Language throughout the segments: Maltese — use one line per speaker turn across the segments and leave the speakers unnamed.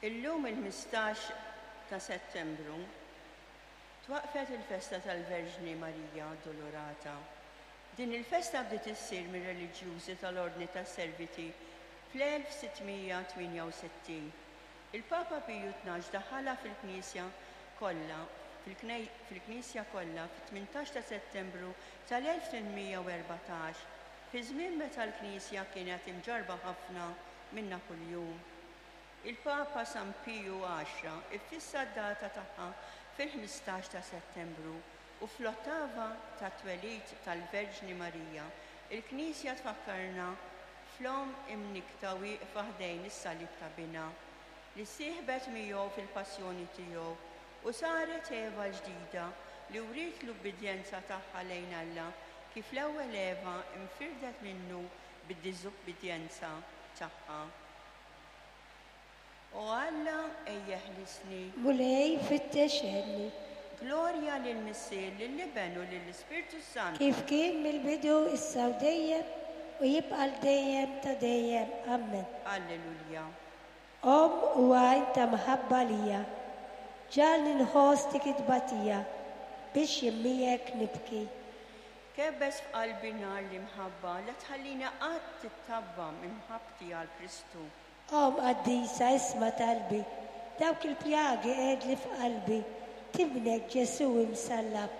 Illum il-15 ta' Settembru twaqqfet il-festa tal-Verġni Marija Addolorata. Din il-festa bdiet issir mir-reliġjużi tal-Ordni tas-Serviti fl-1668. Il-Papa Piju 12 daħħalha fil-Knisja kollha fil-Knisja kollha fit-18 ta' Settembru tal-1814, fi żmien meta l-Knisja kienet imġarrba ħafna minn Napuljun. Il-Papa San Piju Għaxra ffissa d-data tagħha fil-15 ta' Settembru u fl-ottava tat-twelid tal-Verġni Marija, il-Knisja tfakkarna fl-Omm imnikkta wieqfa ħdejn is-salib ta' Binha, li ssieħbet miegħu fil-passjoni tiegħu u saret Eva l-ġdida li wriet l-ubbidjenza tagħha lejn Alla kif l-ewwel Eva nfirdet minnu bid-diżubbidjenza tagħha. O Alla, ejja eħlisni.
Mulej, fittex għenni.
Glorja lill-Missier, lill-Iben u lill-Ispirtu s-Santu.
Kif kien mill-bidu, issa u dejjem, u jibqa' għal dejjem ta' dejjem. Ammen.
Alleluja.
Omm u għajn ta' mħabba għalija, ġagħalni nħoss dik it-tbatija, biex jien miegħek nibki.
Kebbes f'qalbi nar l-imħabba, la tħallini qatt tittabba minn mħabbti għal Kristu.
Omm qaddisa isma' talbi, dawk il-pjagi qegħedli f'qalbi, t'Ibnek Ġesù imsallab.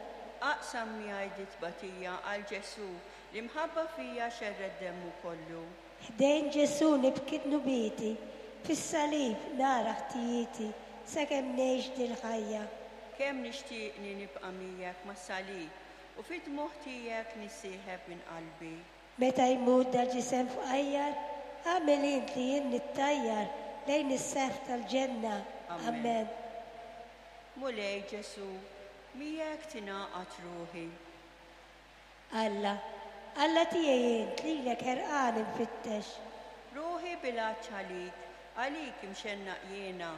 Aqsam miegħi dit-tbatija għal Ġesù, li mħabba fija xerred demmu kollu.
Ħdejn Ġesù nibki dnubieti, fis-salib nara ħtijieti, sakemm ngħix dil-ħajja.
Kemm nixtieqni nibqa' miegħek mas-salib, u fid-dmugħ tiegħek nissieħeb minn qalbi.
Meta jmut dal-ġisem fqajjar, agħmel int li jien nittajjar lejn is-seħf tal-ġenna.
Ammen.
Ammen.
Mulej Ġesù, miegħek tingħaqad ruħi.
Alla, Alla tiegħi int, lilek ħerqan infittex.
Ruħi bil-għatx għalik, għalik imxennaq jiena,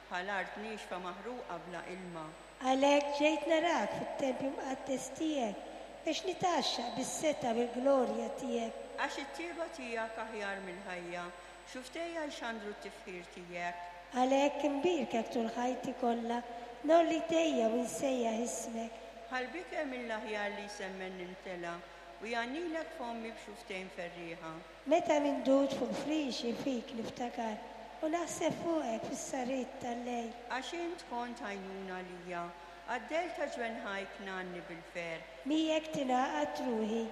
bħal art niexfa maħruqa bla ilma.
Għalhekk ġejt narak fit-tempju mqaddes tiegħek biex nitgħaxxaq bis-setgħa u l-glorja tiegħek.
Għax it-tjieba tiegħek aħjar mill-ħajja, xufftejja jxandru t-tifħir tiegħek.
Għalhekk inbierkek tul ħajti kollha, ngħolli jdejja u nsejjaħ ismek.
Bħal biker mill-aħjar li jsemmen nimtela, u jgħannilek fommi b'xufftejn ferrieħa.
Meta mindud fuq frixi fik niftakar u naħseb fuqek fis-sahriet tal-lejl.
Għax int kont għajnuna għalija, għad-dell ta' ġwenħajk ngħanni bil-ferħ.
Miegħek tingħaqad ruħi,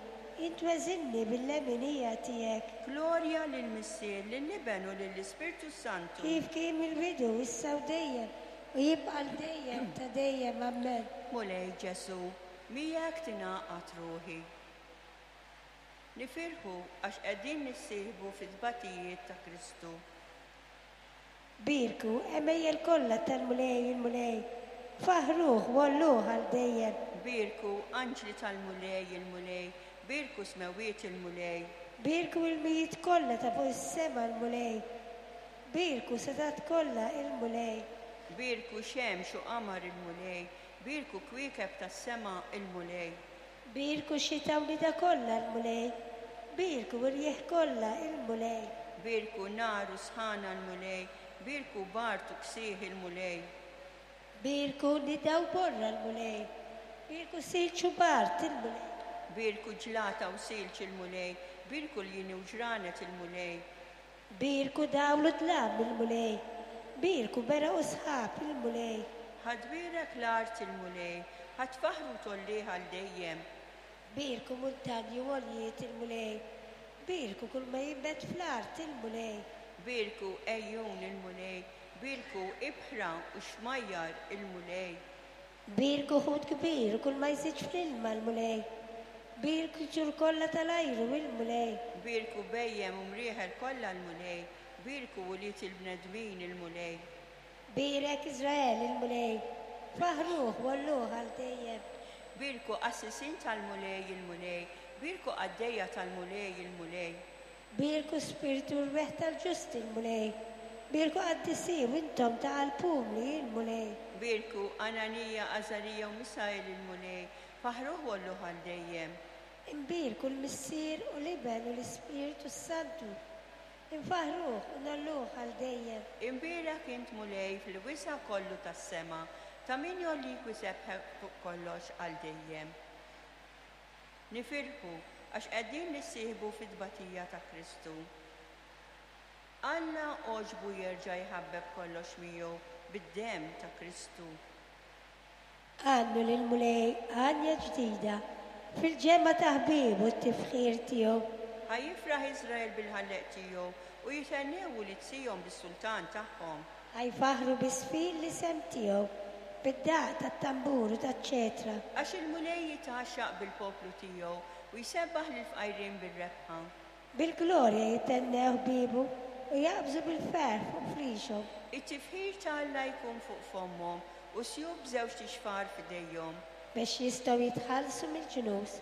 int weżinni bil-leminija tiegħek.
Glorja lill-Missier, lill-Iben u lill-Ispirtu s-Santu.
Kif kien mill-bidu, issa u dejjem, u jibqa' għal dejjem ta' dejjem. Ammen.
Mulej Ġesù, miegħek tingħaqad ruħi. Nifirħu għax qegħdin nissieħbu fit-tbatijiet ta' Kristu.
Bierku, għemejjel kollha tal-Mulej il-Mulej, faħħruh u għolluh għal dejjem.
Bierku, anġli tal-Mulej il-Mulej, bierku smewwiet il-Mulej.
Bierku ilmijiet kollha ta' fuq is-sema l-Mulej, bierku setgħat kollha il-Mulej.
Bierku xemx u qamar il-Mulej, bierku kwiekeb tas-sema il-Mulej.
Bierku xita u nida kollha l-Mulej, bierku rjieħ kollha il-Mulej.
Bierku nar u sħana l-Mulej, bierku bard u ksieħ il-Mulej.
Bierku nida u borra l-Mulej, bierku silġ u bard il-Mulej.
Bierku ġlata u silġ il-Mulej, bierku ljieni u ġranet il-Mulej.
Bierku dawl u dlam il-Mulej, bierku beraq u sħab il-Mulej.
Ħa tbierek l-art il-Mulej, ħa tfaħħru u tgħollih għal dejjem.
Bierku muntanji u għoljiet il-Mulej, bierku kull ma jinbet fl-art il-Mulej.
Bierku għejun il-Mulej, bierku ibħra u xmajjar il-Mulej.
Bierku ħut kbir u kull ma jżid fl-ilma l-Mulej, bierku tjur kollha tal-ajru il-Mulej.
Bierku bhejjem u mrieħel kollha l-Mulej, bierku ulied il-bnedmin il-Mulej.
Bierek Iżrael il-Mulej, faħħruh u għolluh għal dejjem.
Bierku qassisin tal-Mulej il-Mulej, bierku qaddejja tal-Mulej il-Mulej.
Bierku spirtu u rwieħ tal-ġusti l-Mulej, bierku qaddisin u intom ta' qalb umli il-Mulej.
Bierku Ananija, Azarija u Misael il-Mulej, faħħruh u għolluh għal dejjem.
Imbierku l-Missier u l-Iben u l-Ispirtu s-Santu. Infaħħruh u ngħolluh għal dejjem.
Imbierek int Mulej fil-wisa' kollu tas-sema, ta' min jgħollik u jsebbħek fuq kollox għal dejjem. Nifirħu għax qegħdin nissieħbu fit-tbatija ta' Kristu. Alla għoġbu jerġa' jħabbeb kollox miegħu bid-demm ta' Kristu.
Għannu lill-Mulej għanja ġdida, fil-ġemgħa ta' ħbiebu t-tifħir tiegħu.
Ħa jifraħ Iżrael bil-Ħallieq tiegħu, u jithennew ulied Sijon bis-Sultan tagħhom.
Ħa jfaħħru bi żfin l-isem tiegħu, bid-daqq tat-tambur u taċ-ċetra.
Għax il-Mulej jitgħaxxaq bil-poplu tiegħu, u jsebbaħ lill-fqajrin bir-rebħa.
Bil-glorja jithennew ħbiebu, u jaqbżu bil-ferħ fuq frixhom.
It-tifħir ta' Alla jkun fuq fommhom, u sjuf b'żewġt ixfar f'idejhom.
Biex jistgħu jitħallsu mill-ġnus,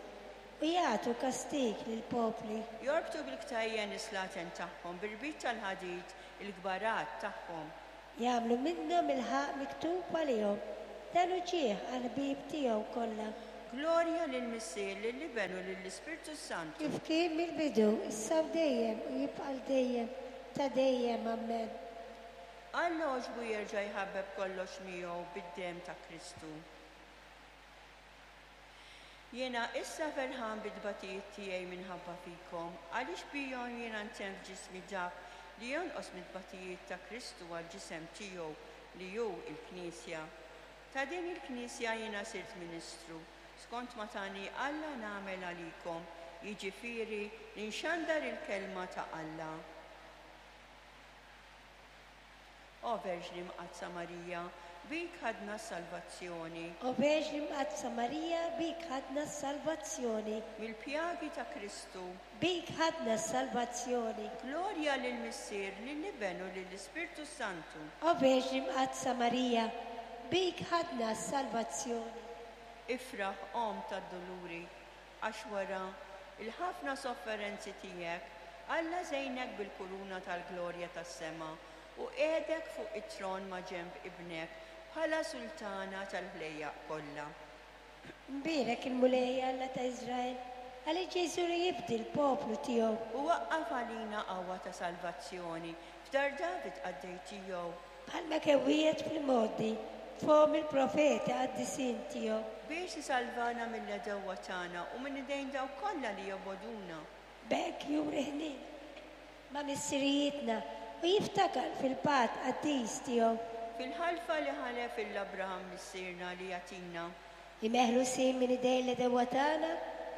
u jagħtu kastig lill-popli.
Jorbtu bil-ktajjen is-slaten tagħhom, b'irbit tal-ħadid il-kbarat tagħhom.
Jagħmlu minnhom il-ħaqq miktub għalihom, dan hu ġieħ għall-ħbieb tiegħu kollha.
Glorja lill-Missier, lill-Iben u lill-Ispirtu s-Santu.
Kif kien mill-bidu, issa u dejjem, u jibqa' għal dejjem ta' dejjem. Amen.
Alla għoġbu jerġa' jħabbeb kollox miegħu bid-demm ta' Kristu. Jiena issa ferħan bit-tbatijiet tiegħi minħabba fikom, għaliex bihom jiena ntemm f'ġismi dak li jonqos mit-tbatijiet ta' Kristu għall-ġisem tiegħu li hu l-Knisja. Ta' din il-Knisja jiena sirt ministru, skont ma tani Alla nagħmel għalikom, jiġifieri li nxandar il-kelma ta' Alla. O Verġni Mqaddsa Marija, bik ħadna s-salvazzjoni.
O Verġni Mqaddsa Marija, bik ħadna s-salvazzjoni.
Mill-pjagi ta' Kristu.
Bik ħadna s-salvazzjoni.
Glorja lill-Missier, lill-Iben u lill-Ispirtu s-Santu.
O Verġni Mqaddsa Marija, bik ħadna s-salvazzjoni.
Ifraħ, Omm tad-Duluri, għax wara l-ħafna sofferenzi tiegħek, Alla żejnek bil-kuruna tal-glorja tas-sema u qiegħdek fuq it-tron ma' ġenb Ibnek bħala Sultana tal-ħlejjaq kollha.
Mbierek il-Mulej Alla ta' Iżrael, għaliex ġie jżur u jifdi l-poplu tiegħu.
U waqqaf għalina qawwa ta' salvazzjoni f'dar David qaddej tiegħu.
Bħalma kien wiegħed fl-imgħoddi b'fomm il-profeti qaddisin tiegħu.
Biex isalvana mill-għedewwa tagħna u minn idejn dawk kollha li jobogħduna.
B'hekk juri ħniena ma' missirijietna u jiftakar fil-patt qaddis tiegħu.
Fil-ħalfa li ħalef 'il Abraham missierna li jagħtina.
Li meħlusin minn idejn l-għedewwa tagħna,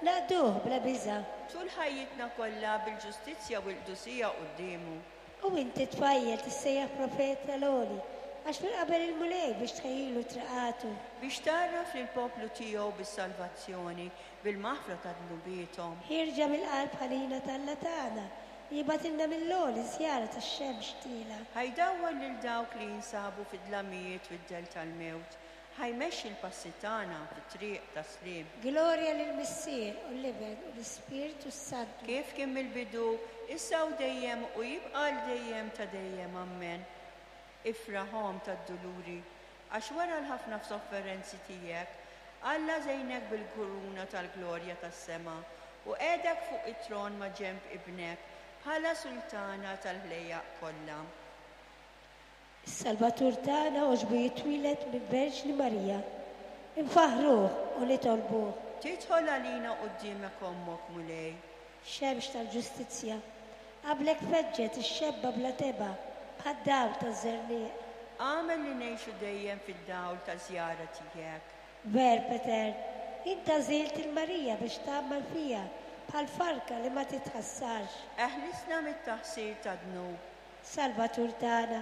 naqduh bla biża'.
Tul ħajjitna kollha bil-ġustizzja u l-qdusija quddiemu.
U inti tfajjel tissejjaħ profet tal-Għoli, għax minn qabel il-Mulej biex tħejjilu triqatu.
Biex tgħarraf lill-poplu tiegħu bis-salvazzjoni, bil-maħfra ta' dnubiethom.
Ħierġa mill-qalb ħanina t'Alla tagħna, li jibgħatilna mill-għoli żjara tax-xemx tielgħa.
Ħa jdawwar lil dawk li jinsabu fid-dlamijiet u d-dell tal-mewt, ħa jmexxi l-passi tagħna fit-triq tas-sliem.
Glorja lill-Missier u l-Iben u l-Ispirtu s-Santu.
Kif kien mill-bidu, issa u dejjem u jibqa' għal dejjem ta' dejjem. Ammen. Ifraħ, Omm tad-Duluri, għax wara l-ħafna sofferenzi tiegħek, Alla żejnek bil-kuruna tal-glorja tas-sema u qiegħdek fuq it-tron ma' ġenb Ibnek bħala Sultana tal-ħlejjaq kollha.
Is-Salvatur tagħna għoġbu jitwieled minn Verġni Marija. Infaħħruh u nitolbuh.
Tidħol għalina quddiemek Ommok, Mulej.
Xemx tal-ġustizzja, qablek feġġet ix-xebba bla tebgħa bħad-dawl taż-żerniq.
Agħmel li ngħixu dejjem fid-dawl taż-żjara tiegħek.
Verb etern, int għażilt 'il Marija biex tgħammar fiha bħal farka li ma titħassarx.
Eħlisna mit-taħsir tad-dnub.
Salvatur tagħna,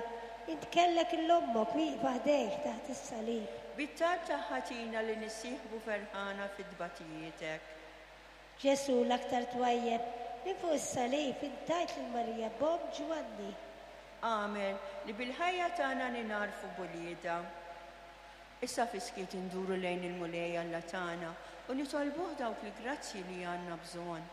int kellek 'il ommok wieqfa ħdejk taħt is-salib.
Bit-talb tagħha tina li nissieħbu ferħana fi tbatijietek.
Ġesù l-aktar twajjeb, minn fuq is-salib int tajt lil Marija b'omm Ġwanni.
Agħmel li bil-ħajja tagħna ningħarfu b'uliedha. Issa fis-skiet induru lejn il-Mulej Alla tagħna u nitolbuh dawk il-grazzji li għandna bżonn.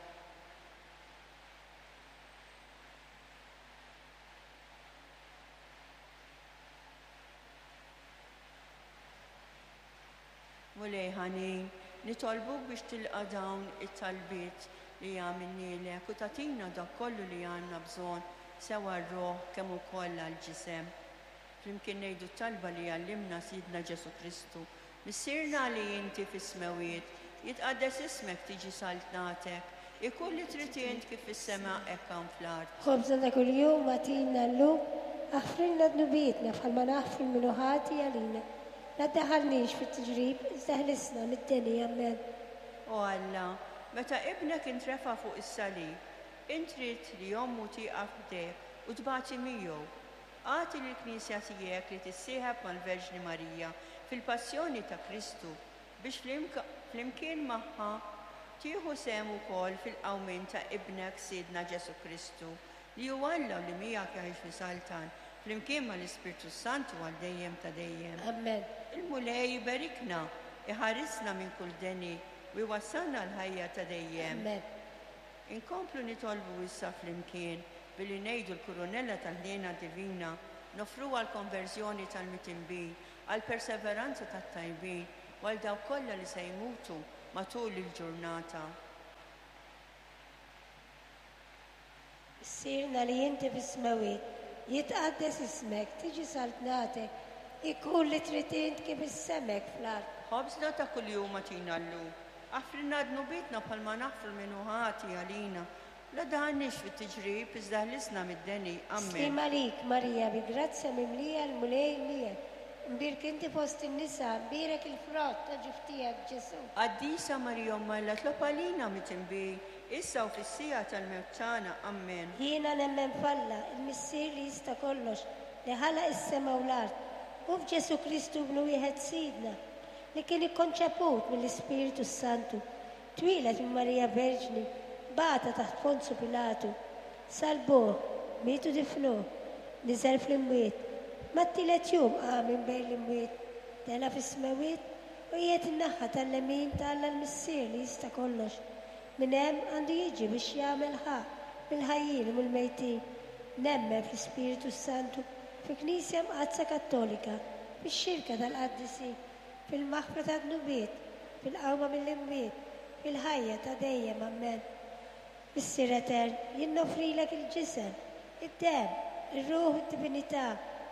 Mulej ħanin, nitolbuk biex tilqa' dawn it-talbiet li għamilnielek u tagħtina dak kollu li għandna bżonn. sew għar-ruħ kemm ukoll għall-ġisem. Flimkien ngħidu t-talba li għallimna Sidna Ġesù Kristu, Missierna li inti fis-smewwiet, jitqaddes ismek tiġi saltnatek, ikun li trid int kif fis-sema hekk hawn fl-art.
Ħobżna ta' kuljum agħtina llum, aħfrilna dnubietna bħalma naħfru 'l min hu ħati għalina. La ddaħħalniex fit-tiġrib, iżda ħlisna mid-deni. Ammen.
O Alla, meta Ibnek intrefa' fuq is-salib, int ridt li ommu tieqaf ħdejh u tbati miegħu. Agħti lill-Knisja tiegħek li tissieħeb mal-Verġni Marija fil-passjoni ta' Kristu, biex flimkien magħha tieħu sehem ukoll fil-qawmien ta' Ibnek Sidna Ġesù Kristu, li hu Alla u li miegħek jgħix u jsaltan, flimkien mal-Ispirtu s-Santu għal dejjem ta' dejjem.
Ammen.
Il-Mulej iberikna, iħarisna minn kull deni u jwassalna għall-ħajja ta' dejjem.
Ammen.
Inkomplu nitolbu issa flimkien billi ngħidu l-Kurunella tal-Ħniena Divina, noffruha għall-konverżjoni tal-mitinbin, għall-perseveranza tat-tajbin u għal dawk kollha li se jmutu matul il-ġurnata.
Missierna li inti fis-smewwiet, jitqaddes ismek, tiġi saltnatek, ikun li trid int kif is-sema hekk fl-art.
Ħobżna ta' kuljum agħtina llum. Aħfrilna dnubietna bħalma naħfru 'l min hu ħati għalina. La daħalniex fit-tiġrib, iżda ħlisna mid-deni. Ammen.
Sliem għalik, Marija, bi grazzja mimlija l-Mulej miegħek. Imbierk inti fost in-nisa, imbierek il-frott ta' ġuf tiegħek, Ġesù.
Qaddisa Marija Omm Alla tlob għalina mitinbin, issa u fis-siegħa tal-mewt tagħna. Ammen.
Jiena nemmen f'Alla, il-Missier li jista' kollox, li ħalaq is-sema u l-art, u f'Ġesù Kristu Ibnu wieħed Sidna, li kien ikkonċeput mill-Ispirtu s-Santu, twieled minn Marija Verġni, bata taħt Ponzu Pilatu, salbuh, miet u difnuh, niżel fl-imwiet, mat-tielet jum qam minn bejn l-imwiet, tela' fis-smewwiet u qiegħed in-naħa tal-lemin ta' Alla l-Missier li jista' kollox. Minn hemm għandu jiġi biex jagħmel ħaqq mill-ħajjin u mill-mejtin. Nemmen fl-Ispirtu s-Santu, fil-Knisja Mqaddsa Kattolika, fix-xirka tal-qaddisin, fil-maħfra tad-dnubiet, fil-qawma mill-imwiet, fil-ħajja ta' dejjem. Ammen. Missier Etern, jien noffrilek il-ġisem, id-demm, ir-ruħ u d-divinità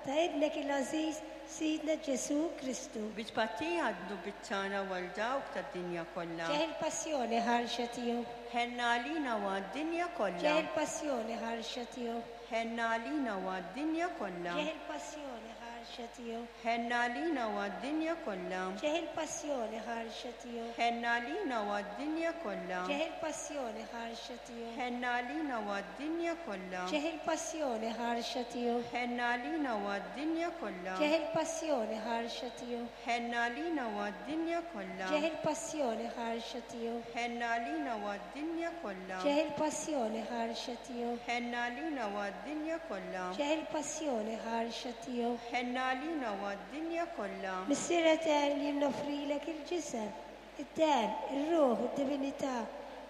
ta' Ibnek il-għażiż, Sidna Ġesù Kristu.
Bi tpattija għad-dnubiet tagħna u għal dawk tad-dinja kollha.
Ġeħ il-passjoni ħarxa tiegħu.
Ħenna għalina u għad-dinja kollha.
Ġeħ il-passjoni ħarxa tiegħu.
Ħenna għalina u għad-dinja kollha.
Ġeħ il-passjoni ħarxa tiegħu.
Ħenna għalina u għad-dinja kollha.
Ġeħ il-passjoni ħarxa tiegħu.
Ħenna għalina u għad-dinja kollha.
Ġeħ il-passjoni ħarxa tiegħu.
Ħenna għalina u għad-dinja kollha.
Ġeħ il-passjoni ħarxa tiegħu.
Ħenna għalina u għad-dinja kollha.
Ġeħ il-passjoni ħarxa tiegħu.
Ħenna għalina u għad-dinja kollha.
Ġeħ il-passjoni ħarxa tiegħu.
Ħenna għalina u għad-dinja kollha.
Ġeħ il-passjoni ħarxa tiegħu.
Ħenna għalina u għad-dinja kollha.
Ġeħ il-passjoni ħarxa tiegħu.
Ħenna għalina u għad-dinja kollha.
Missier Etern, jien noffrilek il-ġisem, id-demm, ir-ruħ u d-divinità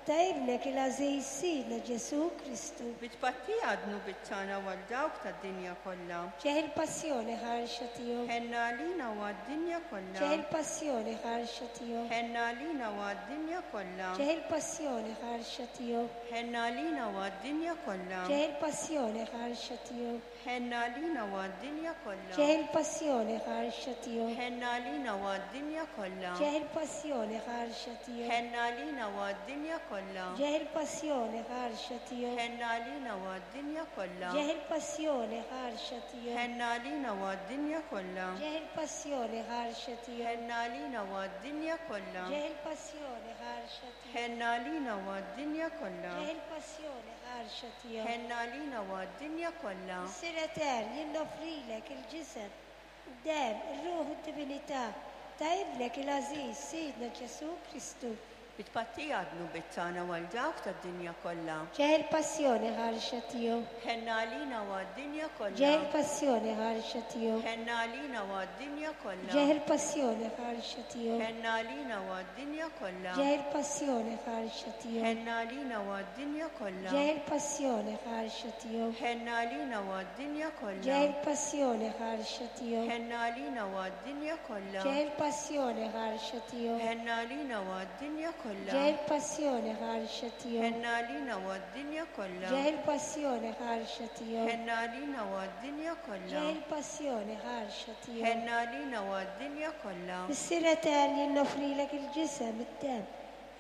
ta' Ibnek il-għażiż Sidna Ġesù Kristu.
Bi tpattija għad-dnubiet tagħna u għal dawk tad-dinja kollha.
Ġeħ il-passjoni ħarxa tiegħu.
Ħenna għalina u għad-dinja kollha.
Ġeħ il-passjoni ħarxa tiegħu.
Ħenna għalina u għad-dinja kollha.
Ġeħ il-passjoni ħarxa tiegħu.
Ħenna għalina u għad-dinja kollha.
Ġeħ il-passjoni ħarxa tiegħu.
Ħenna għalina u għad-dinja kollha.
Ġeħ il-passjoni ħarxa tiegħu.
Ħenna għalina u għad-dinja kollha.
Ġeħ il-passjoni ħarxa tiegħu.
Ħenna għalina u għad-dinja kollha.
Ġeħ il-passjoni ħarxa tiegħu.
Ħenna għalina u għad-dinja kollha.
Ġeħ il-passjoni ħarxa tiegħu.
Ħenna għalina u għad-dinja kollha.
Ġeħ il-passjoni ħarxa tiegħu.
Ħenna għalina u għad-dinja kollha.
Ġeħ il-passjoni ħarxa tiegħu.
Ħenna għalina u għad-dinja kollha.
Ġeħ il-passjoni ħarxa tiegħu.
Ħenna għalina u għad-dinja kollha.
Missier Etern, jien noffrilek il-ġisem, id-demm, ir-ruħ u d-divinità ta' Ibnek il-għażiż, Sidna Ġesù Kristu.
Bi tpattija għad-dnubiet tagħna u għal dawk tad-dinja kollha.
Ġeħ il-passjoni ħarxa tiegħu.
Ħenna għalina u għad-dinja kollha.
Ġeħ il-passjoni ħarxa tiegħu.
Ħenna għalina u għad-dinja kollha.
Ġeħ il-passjoni ħarxa tiegħu.
Ħenna għalina u għad-dinja kollha.
Ġeħ il-passjoni ħarxa tiegħu.
Ħenna għalina u għad-dinja kollha.
Ġeħ il-passjoni ħarxa tiegħu.
Ħenna għalina u għad-dinja kollha.
Ġeħ il-passjoni ħarxa tiegħu.
Ħenna għalina u għad-dinja kollha.
Ġeħ il-passjoni ħarxa tiegħu.
Ħenna għalina u għad-dinja kollha. kollha.
Ġej il-passjoni ħarxa tiegħu.
Ħenna għalina u għad-dinja kollha.
Ġej il-passjoni ħarxa tiegħu.
Ħenna għalina u għad-dinja kollha.
Ġej il-passjoni ħarxa tiegħu.
Ħenna għalina u għad-dinja kollha.
Missier etern jien noffrilek il-ġisem, id-demm,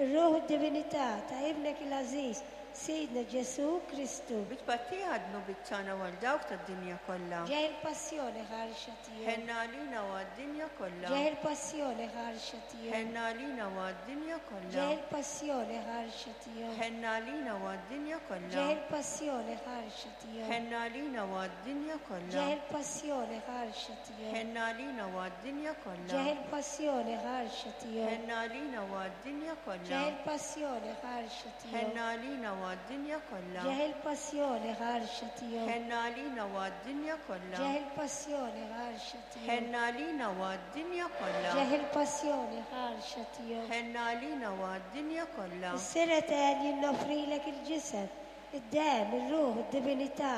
ir-ruħ u d-divinità ta' Ibnek il-għażiż, Sidna Ġesù Kristu.
Bi tpattija għad-dnubiet tagħna u għal dawk tad-dinja kollha.
Ġej il-passjoni ħarxa tiegħu.
Ħenna għalina u għad-dinja kollha.
Ġej il-passjoni ħarxa tiegħu.
Ħenna għalina u għad-dinja kollha.
Ġej il-passjoni ħarxa tiegħu.
Ħenna għalina u għad-dinja kollha.
Ġej il-passjoni ħarxa tiegħu.
Ħenna għalina u għad-dinja kollha.
Ġej il-passjoni ħarxa tiegħu.
Ħenna għalina u għad-dinja kollha.
Ġej il-passjoni ħarxa tiegħu.
Ħenna għalina u għad-dinja kollha.
Ġej il-passjoni ħarxa tiegħu.
Ħenna għalina u għad-dinja kollha.
Ġej il-passjoni ħarxa tiegħu.
Ħenna għalina u għad-dinja kollha.
Ġej il-passjoni ħarxa tiegħu.
Ħenna għalina u għad-dinja kollha.
Ġej il-passjoni ħarxa tiegħu.
Ħenna għalina u għad-dinja kollha.
Missier etern jien noffrilek il-ġisem, id-demm, ir-ruħ, id-divinità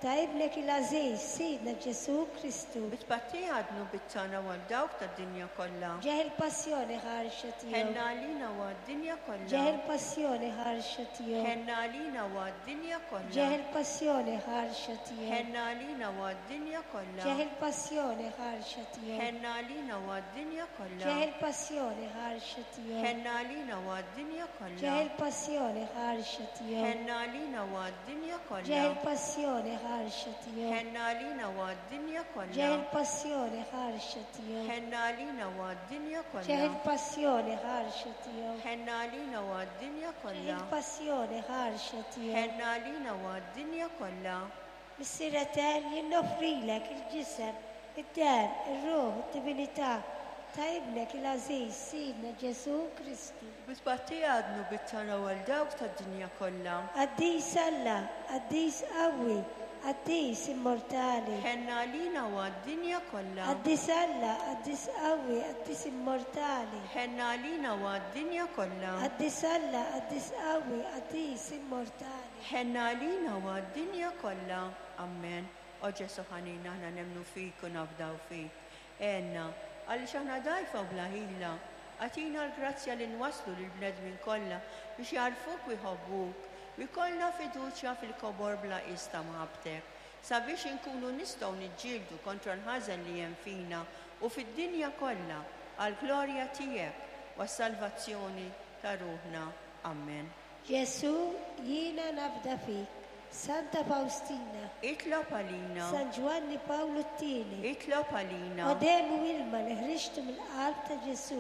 ta' Ibnek il-għażiż, Sidna Ġesù Kristu.
Bi tpattija għad-dnubiet tagħna u għal dawk tad-dinja kollha.
Ġej il-passjoni ħarxa tiegħu.
Ħenna għalina u għad-dinja kollha.
Ġej il-passjoni ħarxa tiegħu.
Ħenna għalina u għad-dinja kollha.
Ġej il-passjoni ħarxa tiegħu.
Ħenna għalina u għad-dinja kollha.
Ġej il-passjoni ħarxa tiegħu.
Ħenna għalina u għad-dinja kollha.
Ġej il-passjoni ħarxa tiegħu.
Ħenna għalina u għad-dinja kollha.
Ġej il-passjoni ħarxa tiegħu.
Ħenna għalina u għad-dinja kollha.
Ġej il-passjoni ħarxa tiegħu.
Ħenna għalina u għad-dinja kollha.
Ġej il-passjoni ħarxa tiegħu.
Ħenna għalina u għad-dinja kollha.
Ġej il-passjoni ħarxa tiegħu.
Ħenna għalina u għad-dinja
Ġej
kollha.
il-passjoni ħarxa tiegħu.
Ħenna għalina u għad-dinja kollha.
Missier etern jien noffrilek il-ġisem, id-demm, ir-ruħ, id-divinità ta' Ibnek il-għażiż Sidna Ġesù Kristu.
Bi tpattija għad-dnubiet tagħna u għal dawk tad-dinja kollha.
Qaddis Alla, qaddis qawwi, qaddis immortali.
Ħenna għalina u għad-dinja kollha.
Qaddis Alla, qaddis qawwi, qaddis immortali.
Ħenna għalina u għad-dinja kollha.
Qaddis Alla, qaddis qawwi, qaddis immortali.
Ħenna għalina u għad-dinja kollha. Amen. O Ġesù ħanin, aħna nemmnu fik u nafdaw fik. Għenna, għaliex aħna dgħajfa u bla ħila. Agħtina l-grazzja li nwasslu lill-bnedmin kollha biex jagħrfuk u jħobbuk, u jkollna fiduċja fil-kobor bla qies ta' mħabbtek, sabiex inkunu nistgħu niġġieldu kontra l-ħażen li hemm fina u fid-dinja kollha, għall-glorja tiegħek u għas-salvazzjoni ta' ruħna. Amen.
Ġesù, jiena nafda fik. Santa Faustina.
Itlob għalina.
San Ġwanni Pawlu t-Tieni.
Itlob għalina.
O demm u ilma li ħriġtu mill-qalb ta' Ġesù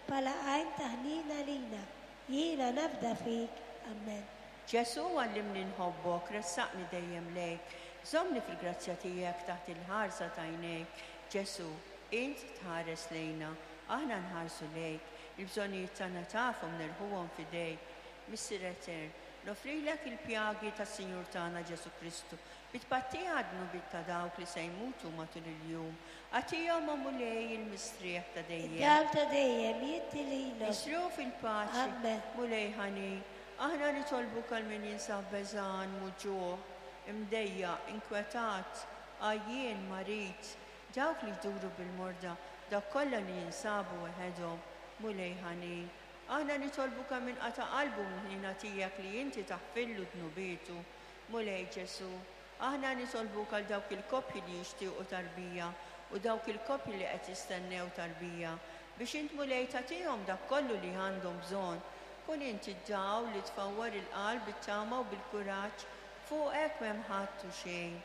bħala għajn ta' ħniena għalina, jiena nafda fik. Amen.
Ġesù, għallimni nħobbok, ressaqni dejjem lejk, żommni fil-grazzja tiegħek taħt il-ħarsa t'għajnejk. Ġesù, int tħares lejna, aħna nħarsu lejk, il-bżonnijiet tagħna tafhom nerħuhom f'idejk. Missier Etern, nofrilek il-pjagi tas-Sinjur tagħna Ġesù Kristu, bi tpattija għad-dnubiet ta' dawk li se jmutu matul il-jum. Agħtihom, o Mulej, il-mistrieħ ta' dejjem.
Id-dawl ta' dejjem jiddi lilhom.
Jisru fil-paċi.
Amen.
Mulej ħanin, aħna nitolbuk għal min jinsab beżgħan, muġugħ, imdejjaq, inkwetat, għajjien, marid, dawk li jduru bil-morda, dawk kollha li jinsabu weħedhom. Mulej ħanin, aħna nitolbuk għal min qata' qalbu mill-ħniena tiegħek li inti taħfillu dnubietu. Mulej Ġesù, aħna nitolbuk għal dawk il-koppji li jixtiequ tarbija u dawk il-koppji li qed jistennew tarbija, biex int Mulej tagħtihom dak kollu li għandhom bżonn. Kun inti d-dawl li tfawwar il-qalb bit-tama u bil-kuraġġ, fuqek m'hemm ħadd u xejn.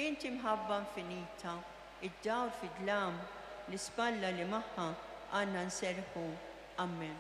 Inti mħabba infinita, id-dawl fid-dlam, l-ispalla li magħha għandna nserrħu. Amen.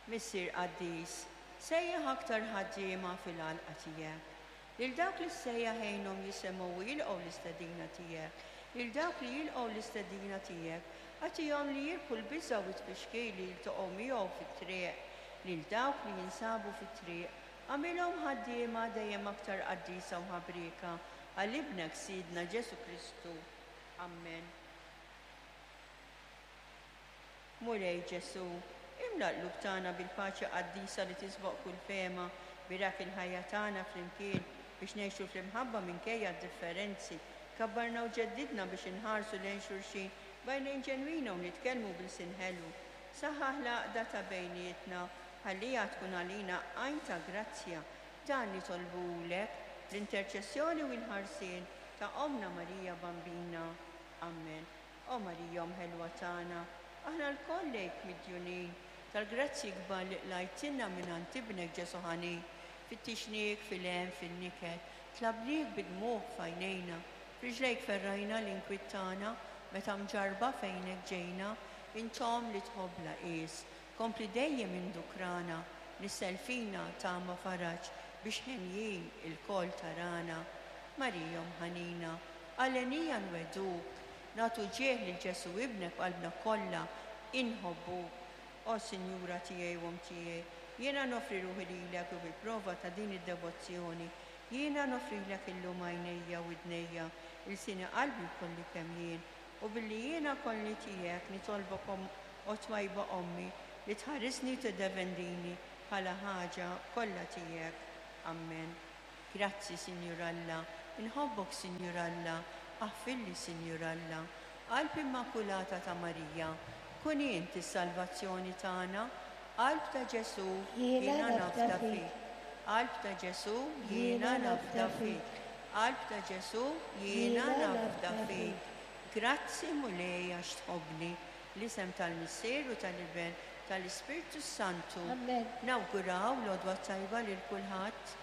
Missier qaddis, sejjaħ aktar ħaddiema fil-għalqa tiegħek. Lil dawk li ssejjaħ għinhom jisimgħu u jilqgħu l-istedina tiegħek. Lil dawk li jilqgħu l-istedina tiegħek, agħtihom li jirbħu l-biża' u t-tfixkil li jiltaqgħu miegħu fit-triq. Lil dawk li jinsabu fit-triq, agħmilhom ħaddiema dejjem aktar qaddisa u ħabrieka għal Ibnek Sidna Ġesù Kristu. Amen. Mulej Ġesù, imla l-qlub tagħna bil-paċi qaddisa li tisboq kull fehma, birak il-ħajja tagħna flimkien. biex ngħixu fl-imħabba minkejja d-differenzi. Kabbarna u ġeddidna biex inħarsu lejn xulxin b'għajnejn ġenwina u nitkellmu b'ilsien ħelu. Saħħaħ l-għaqda ta' bejnietna, ħalliha tkun għalina għajn ta' grazzja. Dan nitolbuhulek bl-interċessjoni u l-ħarsien ta' Ommna Marija Bambina. Ammen. O Marija Omm ħelwa tagħna, aħna lkoll lejk midjunin tal-grazzji kbar li qlajtilna mingħand Ibnek Ġesù ħanin. Fittixniek fil-hemm, fin-niket, tlabniek bid-dmugħ f'għajnejna. F'riġlejk ferrajna l-inkwiet tagħna meta mġarrba f'għejnek ġejna. Int Omm li tħobb bla qies, kompli dejjem indukrana, nissel fina tama faraġ biex henjin ilkoll tarana. Marija Omm ħanina, għalenija nwegħduk, nagħtu ġieħ lil Ġesù Ibnek b'qalbna kollha, inħobbuk. O Sinjura tiegħi u Omm tiegħi, jiena noffri ruħi lilek u bil-prova ta' din id-devozzjoni, jiena noffrilek illum għajnejja, widnejja, ilsieni qalbi u kolli kemm jien. U billi jiena kollni tiegħek, nitolbok O twajba Ommi, li tħarisni u tiddefendini bħala ħaġa kollha tiegħek. Ammen. Grazzi, Sinjur Alla, inħobbok, Sinjur Alla, aħfirli, Sinjur Alla. Qalb Immakulata ta' Marija, kun int is-salvazzjoni tagħna. Qalb ta' Ġesù, jiena nafda fik. Qalb ta' Ġesù, jiena nafda fik. Qalb ta' Ġesù, jiena nafda fik. Grazzi, Mulej, għax tħobbni. L-isem tal-Missier u tal-Iben, tal-Ispirtu s-Santu.
Amen.
Nawguraw l-għodwa t-tajba lil kulħadd.